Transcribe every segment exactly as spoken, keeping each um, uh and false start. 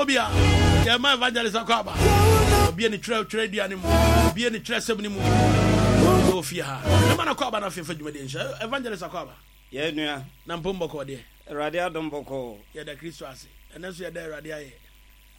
wɔ bia yɛma Evangelist akɔ aba. Obie ne twerɛ twerɛ dua no mu, obie ne twerɛ sɛm no mu ɛwɔ fie ha. Ɛma no akɔ aba no afei fa dwumadie nhyɛ. Evangelist akɔ aba. Yɛ nua. Na mpom bɔkɔɔ deɛ? Awurade adom, bɔkɔɔ. Yɛda Kristo ase. Ɛnɛ nso yɛda Awurade ayɛ.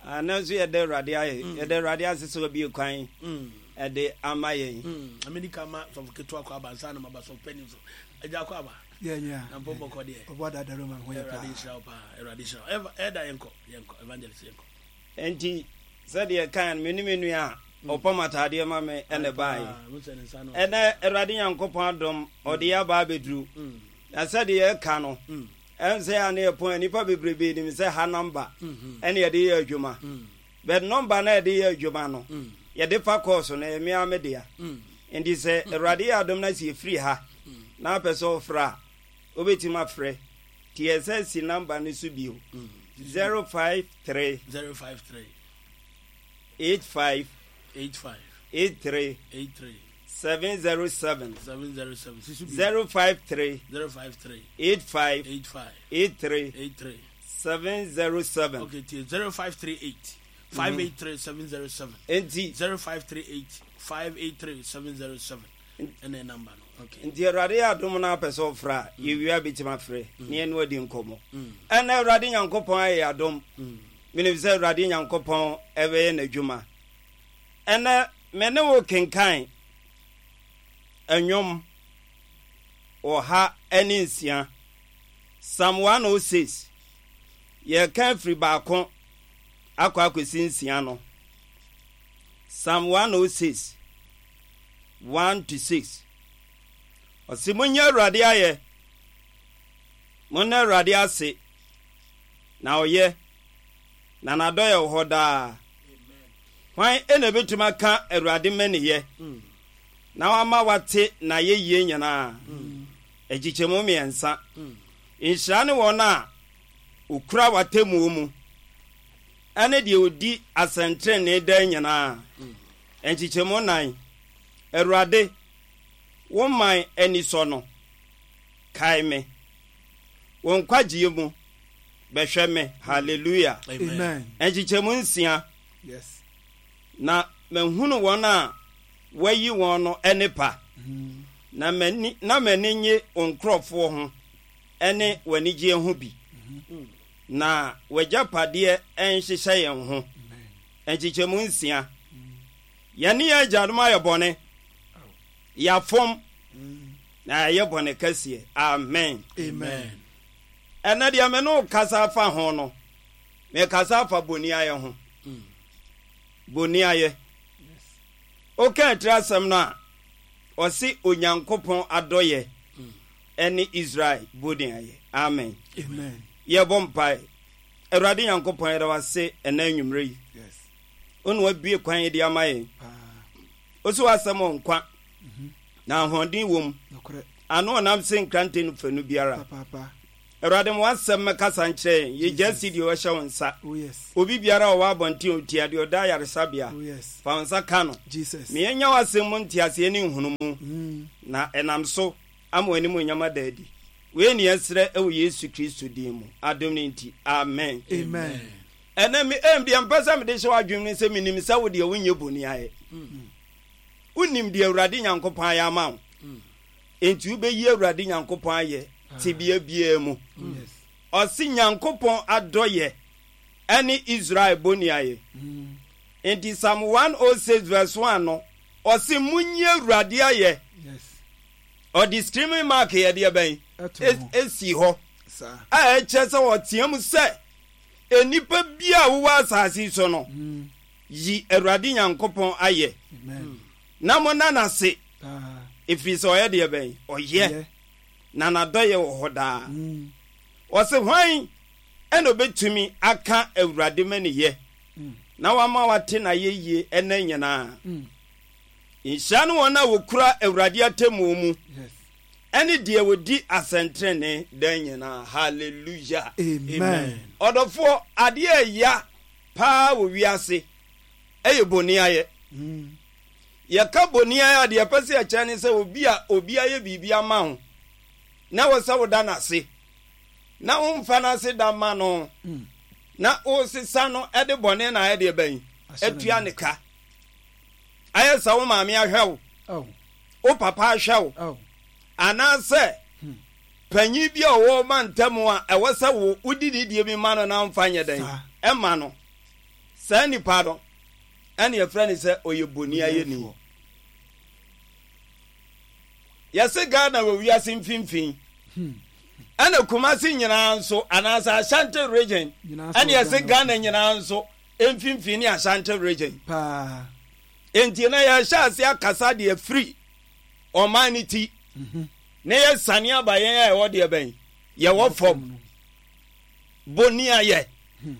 Ɛnɛ nso yɛda Awurade ayɛ. mm. Yɛda Awurade ase sɛ wabie kwan mm. ɛde ama yɛn. mm. Amedi ka ma sɔfo ketewa kɔ aba nsa na maba sɔfo panyin so. Agya, akɔ aba. Na mpom bɔkɔɔ deɛ? Awurade nhyira wo paa. Awurade nhyira wo. Ɛda yɛnkɔ, yɛnkɔ, Evangelist, yɛnkɔ. Nti sɛdeɛ kan me ne me nua a ɔpam ataadeɛ ma me ɛna baeɛ. Ɛnɛ Awurade Nyankopɔn adom, ɔde yɛ aba abɛduru. Na sɛdeɛ yɛka no, ɛn sɛ a ne yɛpɔn a nnipa bebrebe nim sɛ ha number ɛne yɛde yɛ adwuma, but number na yɛde yɛ adwuma no, yɛde fa kɔɔso no, ɛyɛ mea me dea. Nti sɛ Awurade yɛ adom na sɛ yɛfiri ha na apɛ sɛ ɔfrɛ a, wobɛtumi afrɛ. Nti yɛsɛ si number no so bio: zero five three zero five three eight five eight five eight three eight three seven zero seven. seven zero seven. Sisu bi. zero five three zero five three eight five eight five eight three eight three seven zero seven. Okay, tie: zero five three eight five eight three seven zero seven. Enti zero five three eight five eight three seven zero seven ɛna number no. Okay. Nti Awurade yɛ adom no, apɛ sɛ ɔfrɛ a, yɛwie a bɛtumi afrɛ ne yɛne wadi nkɔmmɔ. Ɛna Awurade Nyankopɔn ayɛ adom, menim sɛ Awurade Nyankopɔn ɛbɛyɛ n'adwuma. Ɛnɛ me ne wo kenkan Ɛnwom ɔha ne nsia, Psalm one oh six. Yɛka afiri baako akɔ akɔsi nsia no. Psalm one oh six, one to six. Ɔse, "Monyɛ Awurade ayɛ, monna Awurade ase, na ɔyɛ, na n'adɔyɛ wɔ hɔ daa. Hwan ɛna ɛbɛtumi aka Awurade mmaniyɛ na wama wate n'ayɛyie nyinaa?" Akyikyɛmu mmiɛnsa. "Nhyira ne wɔn a okura w'atemmuo mu, ɛne deɛ ɔdi asɛntenenee daa nyinaa." Nkyekyɛmu nan. "Awurade, wo man ani sɔ no, kae me. Wo nkwagyeɛ mu, bɛhwɛ me." Hallelujah. Amen. Nkyekyɛmu nsia. Yes. "Na mahunu wɔn a wɔayi wɔn no nnepa, na m'ani na m'ani nye wo nkurɔfoɔ ho ne w'anigyeɛ ho bi, na w'agyapadeɛ nhyehyɛ yɛn ho." Nkyekyɛmu nsia. "Yɛne yɛn agyanom ayɛ bɔne, yɛafom na yɛayɛ bɔne kɛseɛ." Amen. Amen. Ɛnɛ deɛ me ne wo kasa afa ho no, mekasa afa boni ayɛ ho. Boni ayɛ, woka atiri asɛm no a, ɔse Onyankopɔn adɔyɛ ɛne Israel boni ayɛ. Amen. Amen. Yɛbɔ mpae. Awurade Nyankopɔn, yɛda wase ɛnɛ anwummerɛ yi. Yes. Wo ne wabue kwan de ama yɛn. Paa. Wo so w'asɛm wɔ nkwa na ahoɔden wɔ mu, Nokorɛ. ano ɔnam se nkrante no fanu biara. Papaapa. Awurade, ma w'asɛm mmɛkasa nkyerɛ yɛn. Yɛgya si deɛ ɔhyɛ wo nsa. Oh yes. Obi biara a ɔwɔ abɔnten a ɔtia deɛ ɔda ayaresabea, Oh yes. fa wo nsa ka no. Jesus. Ma yɛnya w'asɛm mu nteaseɛ ne nhunumu, na ɛnam so ama w'anim onyam ada adi. Wei ne yɛsrɛ ɛwɔ Yesu Kristo din mu, adom no nti, amen. Amen. Ɛnɛ me ɛm deɛ mpɛ sɛ mede hyɛ w'adwene no sɛ menim sɛ wo deɛ wonyɛ boni ayɛ. Wonim deɛ Awurade Nyankopɔn ayɛ ama wo, enti wobɛyi Awurade Nyankopɔn ayɛ tebea biara mu. Yes. Ɔse Nyankopɔn adɔyɛ ɛne Israel boni ayɛ. Nti Psalm one oh six verse one no, ɔse, "Monyi Awurade ayɛ." Yes. Ɔde exclamation mark yɛ deɛ bɛn? Ɛto ho. Esi hɔ Saa. a ɛkyerɛ sɛ ɔteɛ mu sɛ nnipa bi a wowɔ asase yi so no, yi Awurade Nyankopɔn ayɛ Amen. na monna n'ase, Paa. ɛfiri sɛ ɔyɛ deɛ bɛn? Ɔyɛ, Yɛ. na n'adɔyɛ wɔ hɔ daa. Ɔse, "Hwan ɛna obɛtumi aka Awurade maniyɛ na wama wate n'ayɛyie ɛnɛ nyinaa? Nhyira ne wɔn a wɔkura Awurade atemmuo mu, Yes. ɛne deɛ wɔdi asɛntenene dan nyinaa." Hallelujah. Amen. Ɔdɔfoɔ, adeɛ a ɛya paa wɔ wiase ɛyɛ boni ayɛ. Yɛka boni ayɛ a, deɛ ɛpɛ sɛ yɛkyerɛ ne sɛ obi a obi ayɛ biribi ama wo na wɔ sɛ woda n'ase na womfa n'ase da ma no. Na wosesa no de bɔne na ayɛ deɛ bɛn? Atua ne ka. Ayɛ sɛ wo maame ahwɛ wo, wo papa ahwɛ wo, anaasɛ hmm. panyin bi a ɔwɔ ma ntam a ɛwɔ sɛ wo wodi ne die bi ma no na mfa nyɛ dɛn ɛma no. Saa nipa no ɛne yɛfrɛ no sɛ ɔyɛ boni ayɛni. Yɛse Ghana wɔ wiase mfimfini. Hmm. Ɛna Kumasi nyinaa nso anaasɛ Ashanti Region ɛne yɛse Ghana nyinaa nso mfimfini ne Ashanti Region. Paa. Enti na yɛhyɛ ase akasa deɛ firi ɔman no ti mhm. na yɛsane aba yɛn a ɛwɔ deɛ bɛn yɛwɔ fam boni ayɛ hmm.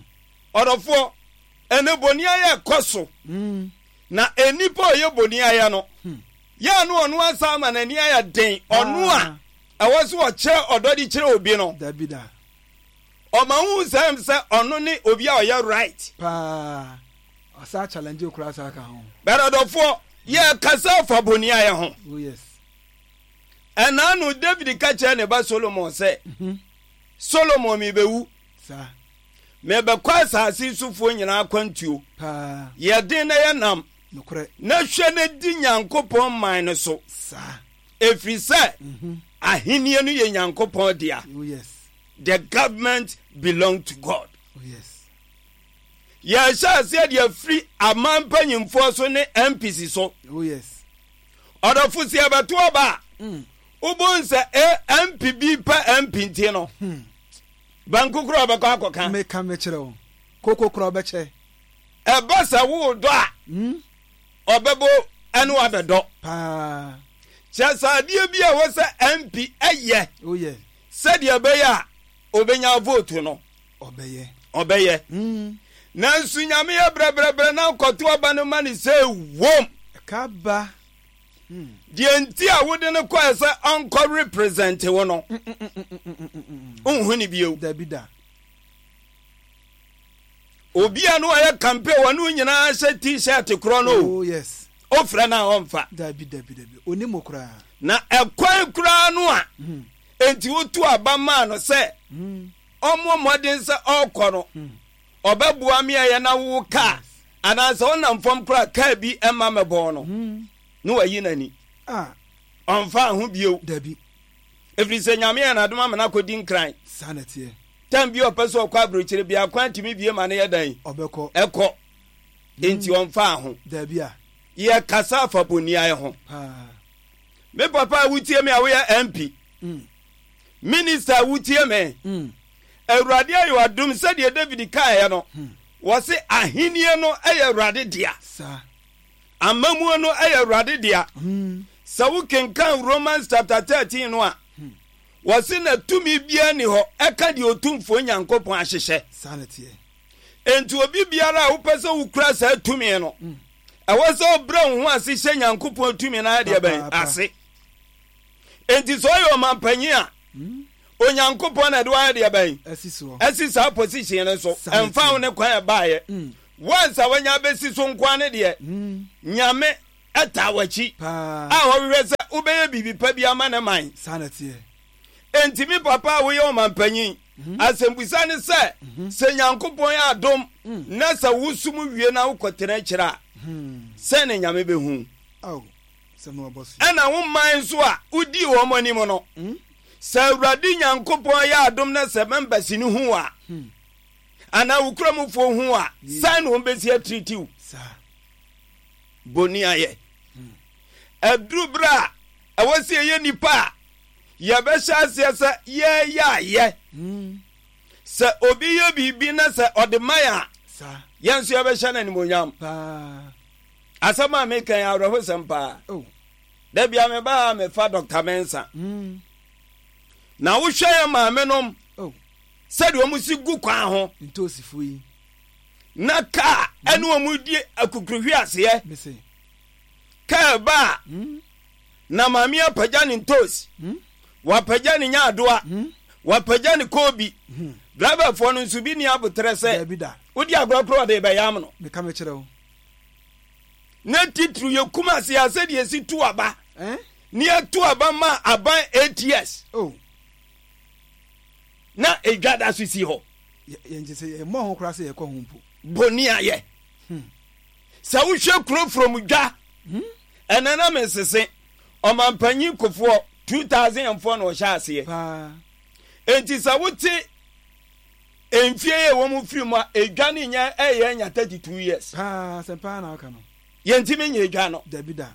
Ɔdɔfoɔ, ɛnɛ boni ayɛ kɔ so hmm. Na nnipa a ɔyɛ boni ayɛ no hmm. Yɛ a no ɔno asa ama n'ani ayɛ den, ɔno a ɛwɔ so ɔkyerɛ ɔdɔ de kyerɛ obi no. Dabi da. Ɔma hu sɛ sɛ ɔno ne obi a ɔyɛ right. Paa. Ɔsa challenge okura saa ka ho. Bɛrɛ ɔdɔfoɔ, yɛ kasa afa boni ayɛ ho. Oh yes. Ɛna no David ka kyerɛ ne ba Solomon sɛ, mm -hmm. Solomon, mebɛwu. Saa. Mebɛkɔ asase sofoɔ nyinaa akwantuo. Paa. Yɛ den na yɛ nam. Nokorɛ. Na hwɛ na di Nyankopɔn man no so. Saa. Ɛfiri sɛ mm -hmm. ahennie no yɛ Nyankopɔn dea. Oh yes. The government belong to God. Oh yes. Yɛhyɛ aseɛ de afiri aman mpanyimfoɔ so ne M Ps so. Oh yes. Ɔdɔfo, sɛ yɛbɛto aba a, mm. wobɛhu sɛ M P bi pɛ M P nti no, hmm. banku korɔ ɔbɛkɔ akɔka. Meka mekyerɛ wo. Koko korɔ ɔbɛkyɛ. Ɛba sɛ wodɔ a, mm. ɔbɛbɔ ɛne wabɛdɔ. Paa. Kyerɛ sɛ adeɛ bi a ɛwɔ sɛ M P ɛyɛ Oh yes. sɛdeɛ ɛbɛyɛ a ɔbɛnya vote no, Ɔbɛyɛ. ɔbɛyɛ. Mm. Nanso Nyame yɛ brɛbrɛbrɛ na nkɔto aba no ma ne sɛ wom. Ɛka ba. Deɛ nti a wode no kɔɛ sɛ ɔnkɔ represent wo no, nhu ne bio. Dabi da. Obi a no ɔyɛ campaign, wɔne wo nyinaa hyɛ T-shirt korɔ no, Oh yes. ofrɛ no a, ɔmfa. Dabi, dabi, dabi. Onim koraa. Na ɛkwan koraa no a enti wotu aba maa no sɛ ɔmmɔ mmɔden sɛ ɔrekɔ no, ɔbɛboa me a yɛ na wo kaa anaasɛ ɔnam fam koraa kaa bi ɛma mɛbɔɔ no na wayi n'ani. Ah. Ɔmfa ho bio. Dabi. Ɛfiri sɛ Nyame yɛ n'adom ama no akɔdi Nkran. Saa na ɛteɛ. Tam bi a ɔpɛ sɛ ɔkɔ aburokyire bia, kwan tumi bie ma no yɛ dan. Ɔbɛkɔ. Ɛkɔ. Enti ɔmfa ho. Dabi a. Yɛkasa afa boniayɛ ho. Paa. Me papa a wotie me a woyɛ M P, Mm. minister a wotie me, Mm. Awurade ayɛ wadom. Sɛdeɛ David kaeɛ no, wɔse ahennie no yɛ Awurade dea. Saa. Amamuo no yɛ Awurade dea. Mm. Sɛ wokenkan Romans chapter thirteen no a, wɔse na tumi biara ni hɔ ɛka deɛ Otumfoɔ Nyankopɔn ahyehyɛ. Saa na ɛteɛ. Enti obi biara a wopɛ sɛ wokura saa tumi no, ɛwɔ sɛ wobrɛ wo ho ase hyɛ Nyankopɔn tumi no ayɛ deɛ bɛn? Papaapa. Ase. Enti sɛ ɔyɛ ɔmampanyin a, Onyankopɔn na ɛde wayɛ deɛ bɛn? Ɛsi soɔ. Ɛsi saa position no so. Saa na ɛmfa wo ɛteɛ. ne kwan ɛbaayɛ. Once a wanya bɛsi so nkoa ne deɛ, Nyame ɛta w'akyi Paa. a ɔhwehwɛ sɛ wobɛyɛ biribi pa bi ama ne man. Saa na ɛteɛ. Enti me papa a woyɛ ɔmampanyin, asɛmbusa ne sɛ, sɛ Nyankopɔn yɛ adom na sɛ wosom wie na wokɔtena akyirɛ a, sɛn ne Nyame bɛhu? Aw. Sɛm na wabɔ so. Ɛna wo man nso a wodii wɔn anim no, sɛ Awurade Nyankopɔn yɛ adom na sɛ members no hu a, anaa wo kuramufoɔ hu a, sɛn na wɔn bɛsi atiritiw? Saa. Boni ayɛ ɛduru berɛ a ɛwɔ sɛ yɛyɛ nnipa a yɛbɛhyɛ aseɛ sɛ yɛyɛ ayɛ sɛ obi yɛ biribi na sɛ ɔde man a, Saa. yɛn nso yɛbɛhyɛ no animonyam. Paa. Asɛm a meka yɛ awerɛhosɛm paa. Oh. Da bia mebaa mefa Doctor Mensa Mm. na wohwɛ yɛ maame nom Oh. sɛdeɛ ɔmo si gu kwan ho Ntoosifo yi. na kaa ɛne ɔmo di akukuruhwi aseɛ. Mese. Kaa ba a, na maame apagya ne ntoos, wapagya ne nyaadoa, wapagya ne koobi. Driverfoɔ no nso bi ni abotrɛ sɛ Dabi da. wodi agorɔ korɔ ɔde bɛyam no. Meka mekyerɛ wo. Na titiri yɛ kum ase a, sɛdeɛ esi tu aba Eh? ne yɛtu aba ma aban eight years Oh. na edwa da so si hɔ. Yɛn sɛ yɛmmɔ ho koraa sɛ yɛkɔ ho mpo. Boni ayɛ. Sɛ wohwɛ kuro from dwa, ɛnɛ na mesese ɔmampanyin Kofoɔ two thousand and four na ɔhyɛ aseɛ. Paa. Enti sɛ wote mfie yɛ wɔ mu firi mu a, edwa ne nyɛ ɛyɛ anya thirty two years. Paa, sɛ paa na ɔka no. Yɛntumi nyɛ edwa no. Dabi da.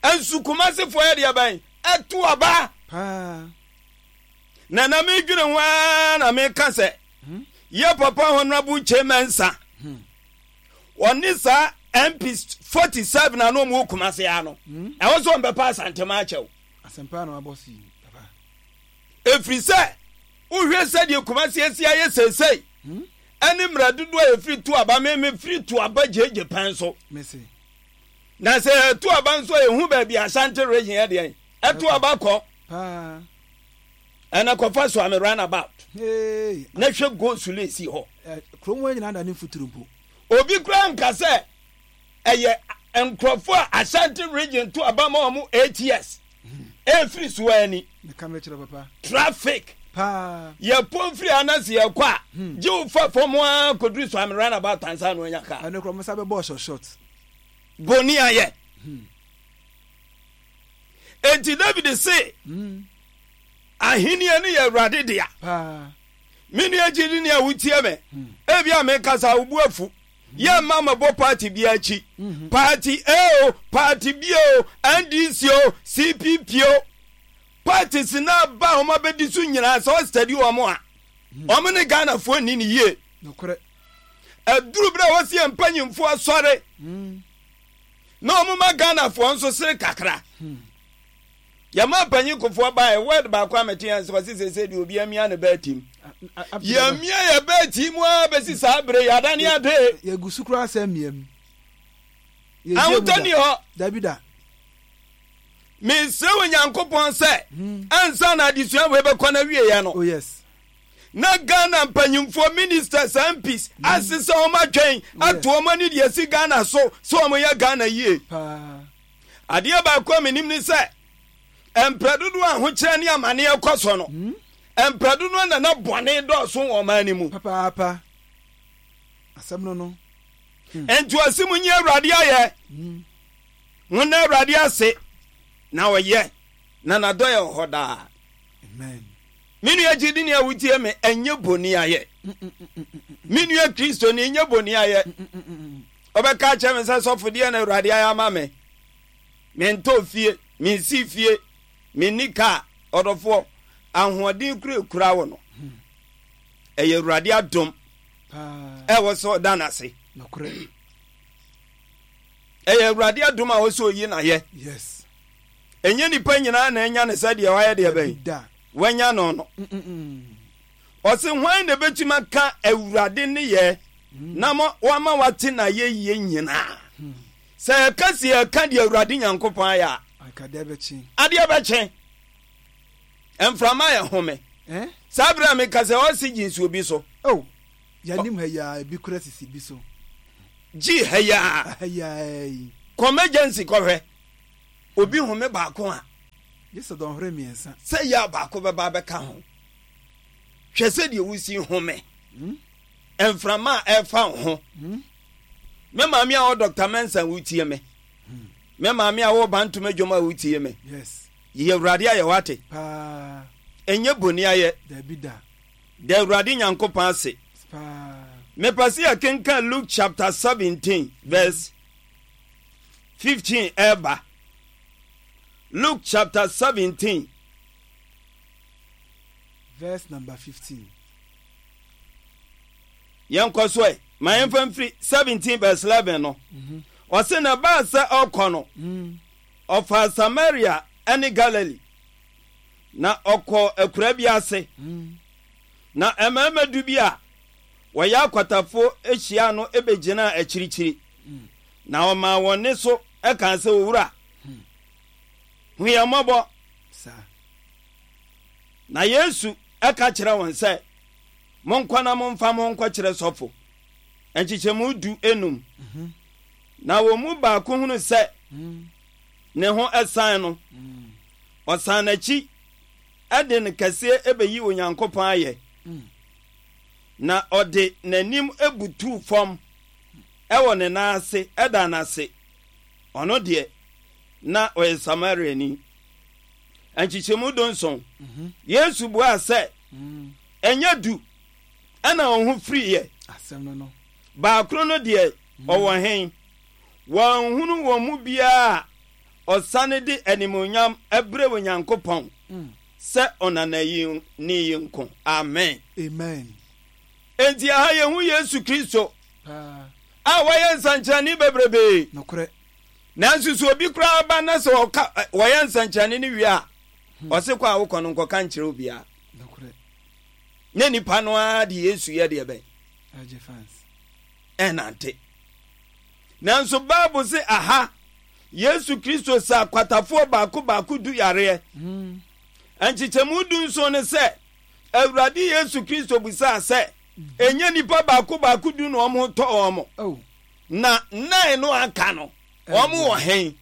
Nso Kumasefoɔ yɛ deɛ bɛn? Ɛto aba. Paa. Na na medwene ho ara na meka sɛ yɛ papa Honorable Kyei Mensah, ɔne saa M P forty seven a na ɔmo wɔ Kumase ha no, ɛwɔ sɛ ɔmbɛpa Asantema akyɛw. Asɛmpa na wabɔ so yi, papa. Ɛfiri sɛ wohwɛ sɛdeɛ Kumase asi ayɛ seesei ɛne mmerɛ dodoɔ a yɛfiri to aba, me mefiri to aba gyegye pɛn so. Mese. Na sɛ yɛto aba nso a, yɛhu baabi Ashanti Region yɛ deɛn ɛto aba kɔ. Paa. Ɛna kɔfa so ame roundabout. Hey. Na hwɛ go sule si hɔ. Eh, kurom hɔ nyinaa da ne mfuturo mpo. Obi kura nka sɛ ɛyɛ nkurɔfoɔ a Ashanti Region to aba ma wɔn eight years ɛfiri so ani. Meka mekyerɛ papa. Traffic. Paa. Yɛpɔn firi ha na sɛ yɛkɔ a, gye wo fa fam a kɔduru so ame roundabout ansa na onya kaa. Ɛno korɔ mo sa bɛbɔ short short. Boni ayɛ. Enti David se ahenni no yɛ Awurade dea. Paa. Me nua gyidi ni a wotie me, ebi a mekasa wo bu afu. Yɛ mma mɛbɔ party bi akyi. Party A o, party B o, N D C o, C P P o. Parties na ba a wɔn abɛdi so nyinaa, sɛ ɔstudy wɔn a, wɔn ne Ghanafoɔ nni ne yie. Nokorɛ. Aduru berɛ a wɔsi yɛn mpanyimfoɔ asɔre na wɔn ma Ghanafoɔ nso sere kakra. Yɛma mpanyin Kofoɔ baeɛ, word baako a mete yɛn sɛ ɔse sese deɛ obi amia ne bɛɛ tim. Yɛmia yɛ bɛɛ tim a bɛsi saa bere yɛadane ade. Yɛgu so koraa sɛ mmea mu. Ahotɔ ni hɔ. Dabi da. Mesrɛ wɔ Nyankopɔn sɛ ansa na adesua wei bɛkɔ no awieɛ no, Oh yes. na Ghana mpanyimfoɔ, ministers, M Ps asesɛ wɔn atwɛn ato wɔn ani deɛ si Ghana so sɛ wɔn yɛ Ghana yie. Paa. Adeɛ baako a menim ne sɛ mprɛ dodoɔ a ahokyerɛ ne amanneɛ kɔ so no, mprɛ dodoɔ na na bɔne dɔɔso wɔ ɔman no mu. Papaapa. Asɛm no no. Enti ɔse mu nyi Awurade ayɛ, monna Awurade ase na ɔyɛ, na n'adɔyɛ wɔ hɔ daa. Amen. Me nua gyidi ni a wotie me, ɛnyɛ boni ayɛ. Me nua Kristoni, ɛnyɛ boni ayɛ. Ɔbɛka kyerɛ me sɛ, sɔfo deɛ na Awurade ayɛ ama me, mentɔ fie, mensi fie, menni kaa. Ɔdɔfoɔ, ahoɔden kura ekura wo no, ɛyɛ Awurade adom. Paa. Ɛwɔ sɛ ɔda n'ase. Nokorɛ. Ɛyɛ Awurade adom a wɔsɛ oyi n'ayɛ. Yes. Ɛnyɛ nipa nyinaa na ɛnya ne sɛ deɛ wayɛ deɛ bɛn Dabi da. wanya no no. Ɔse hwan na ɛbɛtumi aka Awurade ne yɛ na ma wama wate n'ayɛ yie nyinaa? Sɛ yɛka si yɛka deɛ Awurade Nyankopɔn ayɛ a, Anka deɛ bɛkye. Adeɛ bɛkye. Mframa yɛ home. Eh? Saa berɛ a meka sɛ oxygen si obi so. Oh. Yɛnim ha yi a ebi kura sisi bi so. Gye ha yi a. Ha yi a yi. Kɔ emergency kɔhwɛ obi home baako a, Gye sɛ dɔnhwere mmiɛnsa. Sɛ yɛ a baako bɛba bɛka ho. Hwɛ sɛdeɛ wosi home, mframa a ɛfa wo ho. Me maame a wɔ Doctor Mensa wotie me, me maame a wɔ Bantoma dwom a wotie me, Yes. yɛ Awurade ayɛ, wate? Paa. Ɛnyɛ boni ayɛ. Dabi da. Da Awurade Nyankopɔn ase. Paa. Mepɛ sɛ yɛkenkan Luke chapter seventeen verse fifteen ɛba. Luke chapter seventeen verse number fifteen. Yɛnkɔ so ɛ, ma yɛmfa mfiri seventeen verse eleven no. Ɔse na baa sɛ ɔkɔ no, ɔfaa Samaria ne Galilee, na ɔkɔɔ akura bi ase, na mmarima du bi a wɔyɛ akwatafoɔ ahyia no bɛgyinaa akyirikyiri, na ɔmaa wɔn ne so ɛkaa sɛ, "Owura, hu yɛn mmɔbɔ." Saa. Na Yesu ɛka kyerɛ wɔn sɛ, "Monkɔ na momfa mo nkɔkyerɛ sɔfo." Nkyekyɛmu du enum. Na wɔn mu baako hunu sɛ ne ho ɛsan no, ɔsan n'akyi ɛde ne kɛseɛ ɛbɛyi Onyankopɔn ayɛ. Na ɔde n'anim butuu fam wɔ ne nan ase da no ase. Ɔno deɛ, na ɔyɛ Samariani. Nkyekyɛmu dunson. Mhm. Yesu buaa sɛ, Mm. Ɛnyɛ du ɛna wɔn ho firiiɛ? Asɛm no no. Baakoro no deɛ, ɔwɔ he? Wɔanhunu wɔn mu biara a ɔsane de animuonyam brɛ Onyankopɔn Mm. sɛ ɔnanani yi nko. Amen. Amen. Enti ɛha yɛhu Yesu Kristo Paa. a wayɛ nsɛnkyerɛnne bebrebee. Nokorɛ. Nanso sɛ obi koraa ba na sɛ ɔka ɛ, wɔyɛ nsɛnkyerɛnne no wie a, ɔse kɔ a wokɔ no nkɔka nkyerɛ obiara. Nokorɛ. Na nipa no ara de Yesu yɛ deɛ bɛn? Agye fans. Ɛnante. Nanso Bible se aha Yesu Kristo sa akwatafoɔ baako baako du yareɛ. Mm. Nkyekyɛmu du nson ne sɛ Awurade Yesu Kristo bisaa sɛ, ɛnyɛ nnipa baako baako du na wɔn ho tɔ wɔn? Oh. Na nnan no aka no, wɔn wɔ he?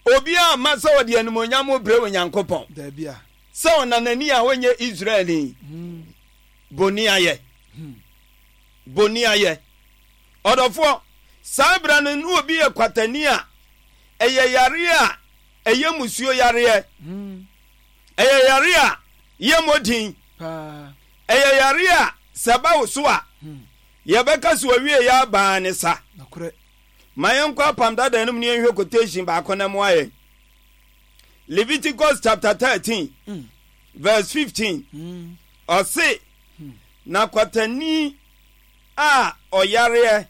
Obiara amma sɛ ɔde animuonyam rebrɛ Onyankopɔn, Dabi a. sɛ ɔnanani a ɔnyɛ Israelni. Mm. Boni ayɛ. Boni ayɛ. Ɔdɔfoɔ, saa berɛ no na obi yɛ kwatani a, ɛyɛ yareɛ a ɛyɛ musuo yareɛ. Mm. Ɛyɛ yareɛ a yɛmmɔ din. Paa. Ɛyɛ yareɛ a sɛ ɛba wo so a, Hmm. yɛbɛka sɛ ɔwie yɛ abaa ne sa. Nokorɛ. Ma yɛnkɔ Apam Dada no mu na yɛnhwɛ quotation baako na mmoa yɛn. Leviticus chapter thirteen Mm. verse fifteen. Mm. Ɔse, na kwatani a ɔyareɛ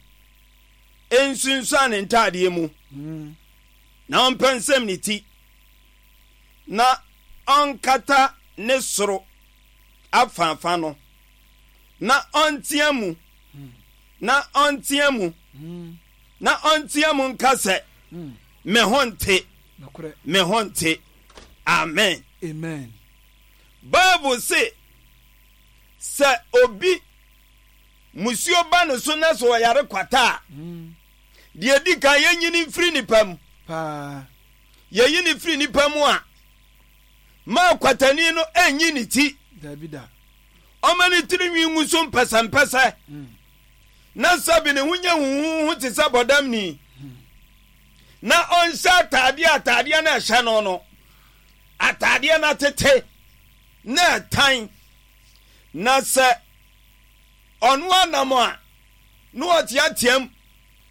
nsunsuan ne ntaadeɛ mu, Mm. na ɔmpɛnsɛm ne ti, na ɔnkata ne soro afaafa no, na ɔntea mu, na ɔntea mu, Mm. na ɔntea mu nka sɛ, Mm. me ho nte, Nokorɛ. me ho nte. Amen. Amen. Bible se, sɛ obi musuo ba ne so na sɛ ɔyare kwata a, Mm. deɛ di kan yɛnyi no mfiri nipa mu. Paa. Yɛyi no firi nipa mu a, ma kwatani no ɛnyi ne ti. Dabi da. Ɔma ne tiri nwi ngu so mpɛsɛmpɛsɛ. Mm. Na sɛbi ne ho nyɛ huhuhu te sɛ bɔdamni. Na ɔnhyɛ ataadeɛ ataadeɛ no ɛhyɛ no no. Ataadeɛ no atete na ɛtan. Na sɛ ɔno anam a, na ɔteateam,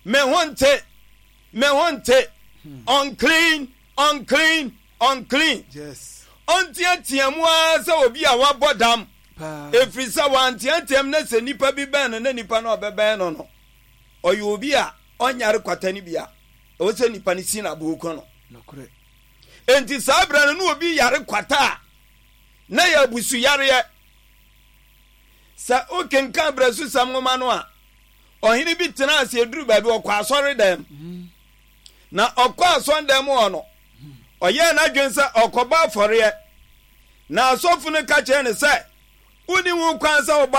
me ho nte, me ho nte, unclean, unclean, unclean. Yes. Ɔnteatea mu ara sɛ obi a wabɔ dam. Paa. Ɛfiri sɛ wanteateam na sɛ nipa bi bɛn no na nipa no a ɔbɛbɛn no no, ɔyɛ obi a ɔnyare kwata no bi a, ɛwɔ sɛ nipa no si n'aboɔ ku no. Nokorɛ. Enti saa berɛ no na obi yare kwata a, na yɛ abusuyareɛ. Sɛ wokenkan Berɛsosɛm nwoma no a, ɔhene bi tenaa ase eduru baabi ɔkɔ asɔredan mu. Na ɔkɔ asɔredan mu hɔ no, ɔyɛɛ n'adwene sɛ ɔkɔbɔ afɔreɛ. Na asɔfo no ka kyerɛɛ no sɛ, wonni ho kwan sɛ wobɔ